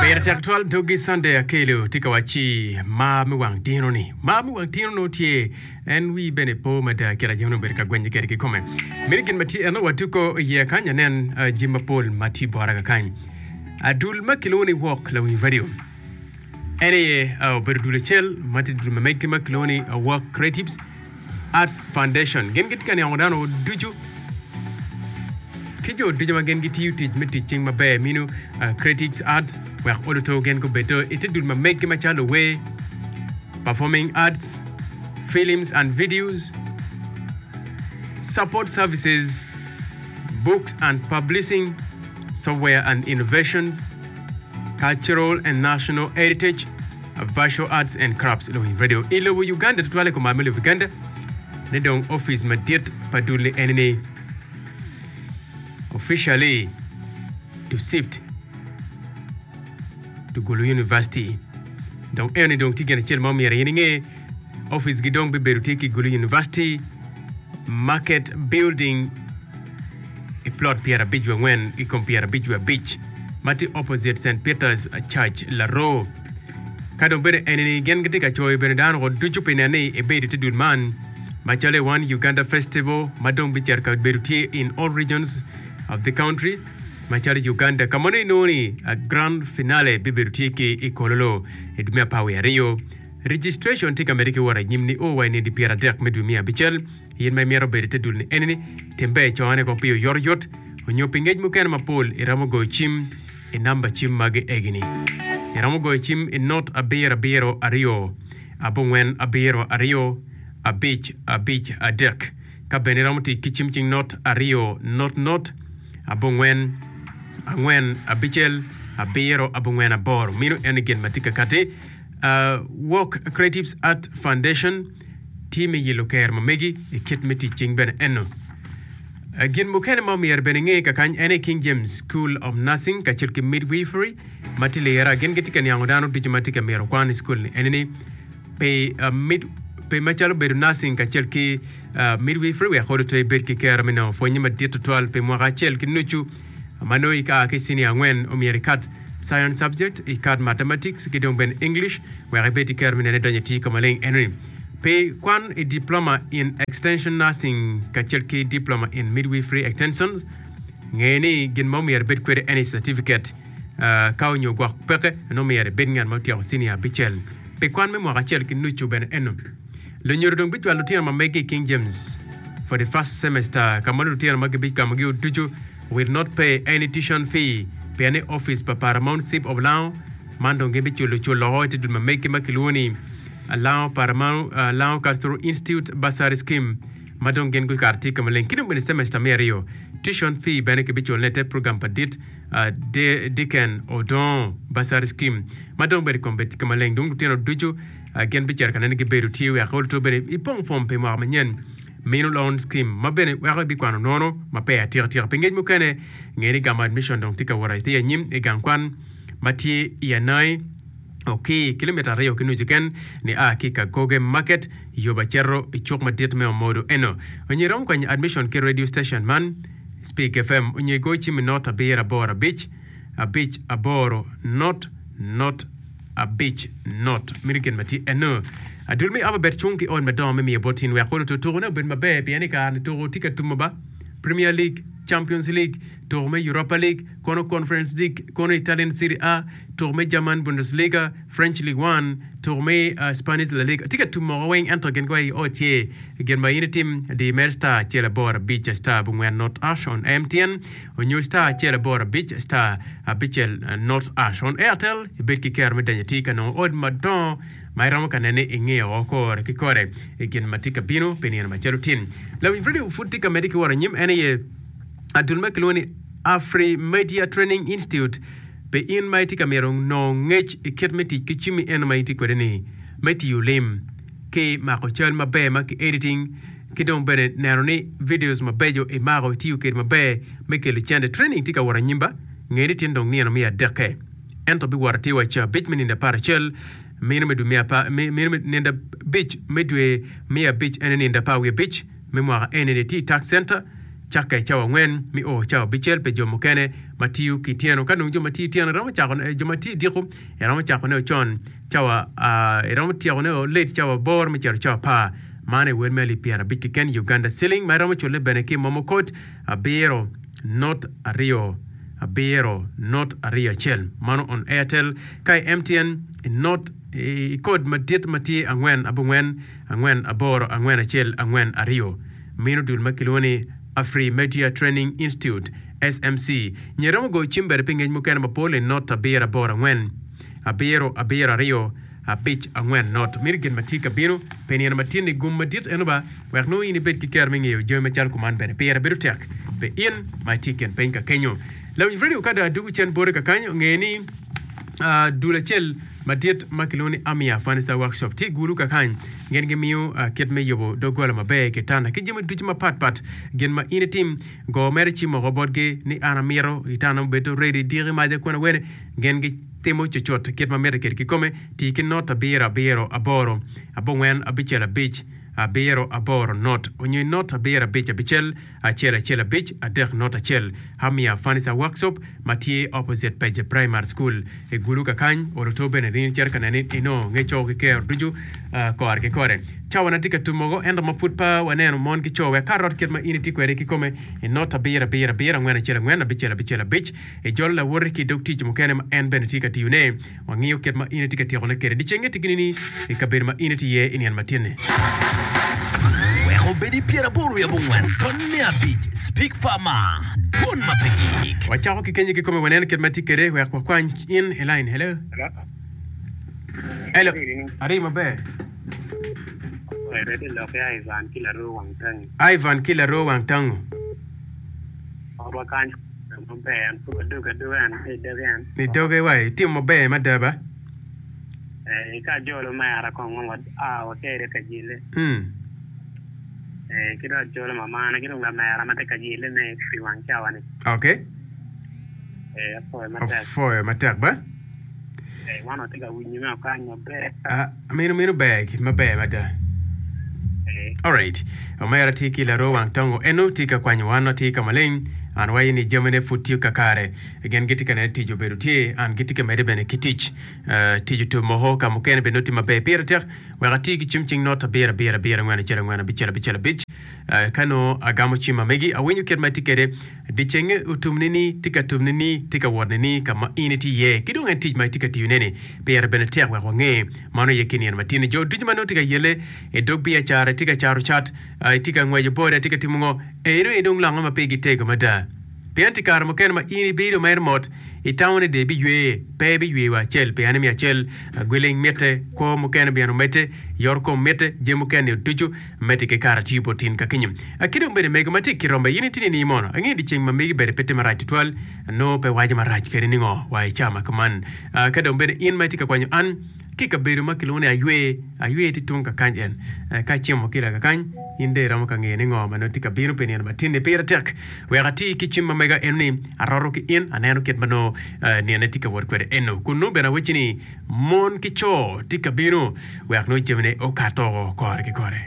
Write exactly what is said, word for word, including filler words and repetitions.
Pire tek twal dogi Sunday Akelo tye ka wacci mar me wang tino ni. Mar me wang tino nongo tye en wii bene po mada kit aye onongo obedo ka gwenye kwede kikome. Meno gin ma tye eno watuko iye kany anen uh, jami mapol ma tye bota kakany. Adul ma kilwongo ni Walk Lawiny Radio en aye uh, obedo dul acel ma tye dul ma megi ma kilwongo ni uh, Walk Creatives Arts Foundation. Gin gitye ka niango dano ducu ki jo ducu ma gin gitiyo tic me tic cing maber mino uh, Creatives Art wek oluto gin gubedo i te dul ma megi macalo wer, performing arts, films and videos, support services, books and publishing, software and innovations, cultural and national heritage, visual arts and crafts. Lowiny Radio i lobo Uganda tutwal i kom me lobo Uganda ni dong office madit pa dul ni eni ni officially to shift to Gulu University. Dong eni dong tye gin acel ma omyero in inge office gi dong bibedo tye ki Gulu University Market Building i plot pyerabic wiye angwen i kom pyerabic wiye abic ma tye opposite St Peter's Church Laroo. Ka dong bene eni ni gin gitye ka coyo bene dano ko ducu pi neno ni ibedo i te dul man macalo i One Uganda Festival ma dong bicito ka bedo tye in all regions of the country macalo Uganda ka ma nongo inongo ni a grand finale bibedo tye ki i Kololo i dwe me apar wiye aryo. Registration tye ka medde ki wot anyim ni o wa i nino pyeradek me dwe me abicel. In ma imito bedo i te dul ni eni ni tim ber icone ko pi oyotoyot onyo pi ngec mukene mapol iromo goyo cim i namba cim magi egini. Iromo goyo cim i not abiro abiro aryo abongwen abiro aryo abic abic adek. Ka bene iromo tic ki cim cing not aryo not not abongwen angwen abicel abiro abongwen aboro. Meno en gin ma tye ka kati. Uh, Walk Creatives Art Foundation tye me yelo ker ma megi i kit me tic cing bene eno. Uh, gin mukene ma omyero bene inge kakany en aye King James School of Nursing kacel ki Midwifery ma tye lira gin gitye ka niango dano ducu ma tye ka myero kwan i school ni eni ni pi uh, mid, pi macalo bedo nursing kacel ki uh, midwifery wek olo to ibed ki kero me nongo pwonye madit tutwal pi mwaka acel ki nucu ma nongo ika ki senior angwen omyero ikat science subject ikat mathematics ki dong bene English wek ibed ki kero me nene donyo i tic ka maleng enoni pi kwan i diploma in extension nursing kacel ki diploma in midwifery extension nge ni gin ma omyero ibed kwede eni certificate uh, ka onyo gwok peke nongo myero ibed ngat ma otyeko senior abicel pi kwan me mwaka acel ki nucu bene eno lunyodo dong bicwalo lutino ma megi i King James for the first semester ka ma lutino ma gibigamogi ducu will not pay any tuition fee pien ni office pa Paramount Chief of Lango man dong gin biculo culo oko i te dul ma megi ma kilwongo ni Lango Paramount uh, Lango Cultural Institute Bursary Scheme ma dong gin gukato tye ka maleng ki dong bene semester me aryo tuition fee bene kibiculone te program pa dit uh, De Deacon Odongo Bursary Scheme ma dong bene kom bed ka maleng dong lutino ducu uh, gin bicito ka nene gibedo tye wek oluto bene ipong form pi mwaka manyen mino loan scheme ma bene weko ibikwano nono ma pe atika tika pi ngec mukene nge ni gamo admission dong tye ka wot atir anyim i gang kwan ma tye i Anai Oki kilomita aryo ki nucu ken ni a ki Kagoge Market yo ba cito i cuk madit me Omodo eno. Onyo iromo kwanyo admission ki radio station man Speak F M onyo igo cim i not abiro aboro abic abic aboro not not abic not meno gin ma tye eno. Adul me Ababet cung ki ot madongo me miyo bot in wek oluto tukone obed maber pien i kare ni tuko tye ka tumo ba Premier League, Champions League, tuko me Europa League, kono Conference League, kono Italian Serie A, tuko me German Bundesliga, French League One, tuko me uh, Spanish La Liga. Tye ka tumo woko weng ento gin kwa o tye gin ma in itim di mer star acel aboro abic star abongwen not hash on M T N onyo star acel aboro abic star abicel not hash on Airtel ibed ki kero me donyo tye ka nongo ot madongo ma iromo ka nene ingeyo woko kore ki kore i gin ma tye ka bino pi nino macalo tin. Lawiny Radio pud tye ka medde ki wot anyim en aye adul ma kilwongo ni Afri Media Training Institute pe in ma itye ka mito nongo ngec i kit me tic ki cimmi eno ma itye kwede ni me tiyo lim ki mako cal maber ma ki editing ki dong bene neno ni videos mabeco imako itiyo kwede maber me kelo cente training tye ka wot anyim ba nge ni tin dong nino me adekke ento biwoto atir wa ca abic me nindo apar acel mino me dwe me apar mino me nindo abic me dwe me abic ene nindo apar wiye abic me mwaka eni ni tye i tax center Cakke cawa angwen me o cawa abicel pi jo mukene ma tiyo ki tyeno. Ka dong jo ma tiyo tyeno iromo cako jo ma tiyo diko iromo cakone con cawa iromo tyekone late cawa aboro me cito cawa apar. Man aye wel me alip pyerabic keken Uganda Shilling ma iromo culle bene ki momo code abiro not aryo abiro not aryo acel mano on Airtel ka i M T N not i code madit ma tye angwen abongwen angwen aboro angwen acel angwen aryo mino dul ma kilwongo ni Afrimedia Training Institute S M C nyo iromo goyo cim bene pi ngec mukene mapol i not abiro aboro angwen abiro abiro aryo abic angwen not mito gin ma tye ka bino pi nino ma tye ni gum madit eno ba wek nongo in ibed ki kero me ngeyo jami macalo kuman bene pire bedo tek pi in ma itye i kin piny ka kenyo lawiny radio ka dong adugo cen bote kakany onge ni uh, dul acel madit ma kilwongo ni Amia Furniture Workshop tye i Gulu kakany gin gimiyo uh, kit me yubo doggola maber kitanda ki jami ducu mapatpat gin ma in itim go mere cim oko botgi ni an amito kitanda mubedo ready diki maca kun awene gin gitimo cucut kit ma mitte kwede kikome tii ki not abiro abiro aboro abongwen abicel abic abiro aboro not onyo not abiro abic abicel acel acel abic adek not acel Amia Furniture Workshop ma tye opposite Page Primary School i Gulu kakany oluto bene rin cito ka nene inongo ngec ki kero ducu uh, kore ki kore cawa na tye ka tumogo ento ma pud pa waneno mon ki co wek ka rot kit ma in itye kwede kikome i not abiro abiro abiro angwen acel angwen abicel abicel abic ijolo lawoti ki dog tic mukene ma en bene tye ka tiyone wangiyo kit ma in itye ka tyekone kwede dicenge tye gini ni i kabedo ma in itye iye i nino matin-ni. Wek obedi pyeraboro wiye abongwen ton me abic Speak Farmer dwon ma pe gik. Wacako ki kenyo kikome waneno kit ma tye kwede wek wakwany in i line. Hello, hello, ari maber. Ivan ki laro wang tangi. Ivan ki laro wang tango. Odwa kany maber an pud adugo aduga en i doge en. Ni doge wa itimo maber mada ba. Eh, ka jolo mera kong ma a watere ka jile. Mm. Eh, ki dong jolo mamana ki dong lamera ma tye ka jile ne pi wang cawa ni. Okay. Eh, apoyo matek. Afoyo matek ba. Eh, wan watye ka winyo me okany maber. Ah, mino mino ber maber mada. Eh, Alright. Omera tye ki laro wang tongo eno tye ka kwanyo wan tye ka maleng an wayo ni jamine pud tye kakare gin gitye ka neno tic obedo tye an gitye ka medde bene ki tic uh, tic otum moko ka mukene bene nongo tye maber pire tek wek ati ki cim cing not abiro abiro abiro angwen acel angwen abicel abicel abic uh, ka nongo agamo cim ma megi awinyo kit ma tye kwede dicenge otum ni tye ka tum ni tye ka wot ni ka ma in itye iye ki dong en tic ma itye ka tiyone ni pire bene tek wek wange mano ye ki nino matin jo ducu ma nongo tye ka yele i dog biacara tye ka caro cat uh, tye ka ngweco boda tye ka timo ngo eno en dong longo ma pigi tego mada pien ti kare mukene ma in ibedo mere mot itamo ni de ibiywe pe ibiywe wa acel pien mi acel gweling mitte kwo mukene bene omedde yor kom mitte jami mukene ducu medde ki kare tiyo bot tin ka kinyo ki dong bene mego ma tye ki rombe in itye ni mono ange di ceng ma megi bene pe tye marac tutwal nongo pe waco marac kede ni ngo wa i cama kuman ka dong bene in ma itye ka kwanyo an ki kabedo ma kilwongo ni aywe aywe tye tung kakany en ka cimo ki kakany in de iromo ka ngeyo ni ngo ma nongo tye ka bino pi nino matin-ni pire tek wek ati ki cim ma mega en ni aroto ki in aneno kit ma nongo nine tye ka wot kwede eno kun nongo bene awacci ni mon ki co tye ka bino wek nongo jamine okato kore ki kore.